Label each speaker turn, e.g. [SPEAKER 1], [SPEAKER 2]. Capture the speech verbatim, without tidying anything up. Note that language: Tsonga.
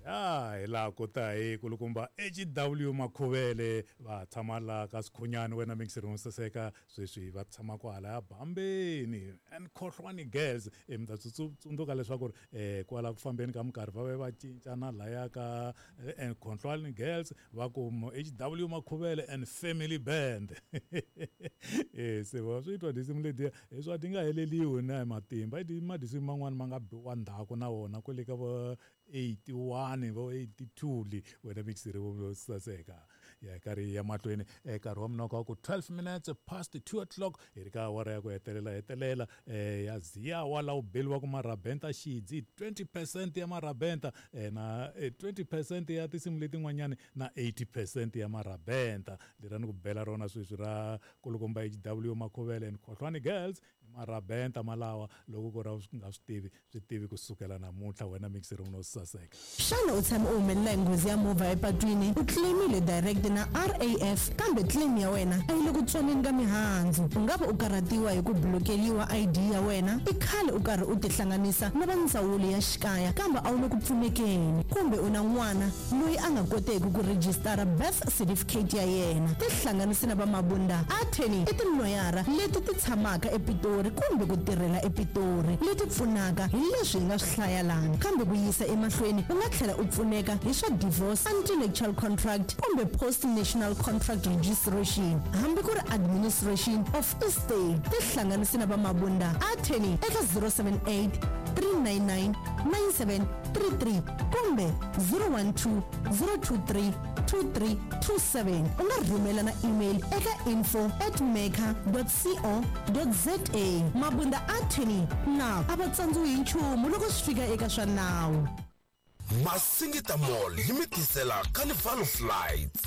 [SPEAKER 1] Ya hi laha ku ta hi kulukumba H W Makhuvele, va tshama laha ka Sikhunyani. Wena mixeri wo saseka, sweswi va tshama kwalaya Bambeni and Khohlwani Girls. E mi ta tsundzuka leswaku ri um kwala ku fambeni ka minkarhi va ve va cinca na laya ka and Khohlwani Girls, va ku H W Makhuvele and Family Band. E se va swi twa tinsimu letiya hi swa ti nga heleliwi na hi matimba. I madisimu man'wani ma nga biwa ndzhaku na wona kwale ka vo eighty-one, vo eighty-two li. Wena mixeri wo saseka, ya karhi ya mahlweni. Nkarhi wa minoko wa ku twelve minutes past two o'clock, hi ri ka awara ya ku hetelela hetelela eh ya ziyawa laha u beliwaku marabenta xidzi twenty percent ya marabenta eh, na eh, twenty percent ya tinsimu letin'wanyani na eighty percent ya marabenta. Lera ni ku bela rona sweswi ra kulukumba H W Makhuvele and Khohlwani Girls i marabenta malawa. Loko ku ra u nga swi tivi, swi tivi kusukela namuntlha, wena mixeri no saseka.
[SPEAKER 2] Xana u tshame u humelela hi nghozi ya movha epatwini? U claimile direct na R A F, kambe claim ya wena a yi le ku tswaleni ka mihandzu. U nga va u karhatiwa hi ku blokeliwa I D ya wena? I khale u karhi u tihlanganisa na va ndzawulo ya xikaya, kambe a wu le ku pfunekeni? Kumbe u na n'wana loyi a nga koteki ku rejistara birth certificate ya yena? Tihlanganisi na va Mabunda Attorney. I tiloyara leti ti tshamaka ePitori kumbe ku tirhela ePitori, leti pfunaka hi leswi hi nga swi hlaya lana. Kambe ku yisa emahlweni, u nga tlhela u pfuneka hi swa divorce, anti-nuptial contract kumbe post nuptial contract registration, hambi ku ri administration of estate. Tihlanganisi na va Mabunda Attorney eka zero seven eight three nine nine nine seven three three kumbe zero one two zero two three two three two seven. U nga rhumela na email eka info at maker co za. Mabunda Attorney na a va tsandziwi hi nchumu loko swi fika eka swa nawu.
[SPEAKER 3] Masingita Mall yi mi tisela Carnival of Lights.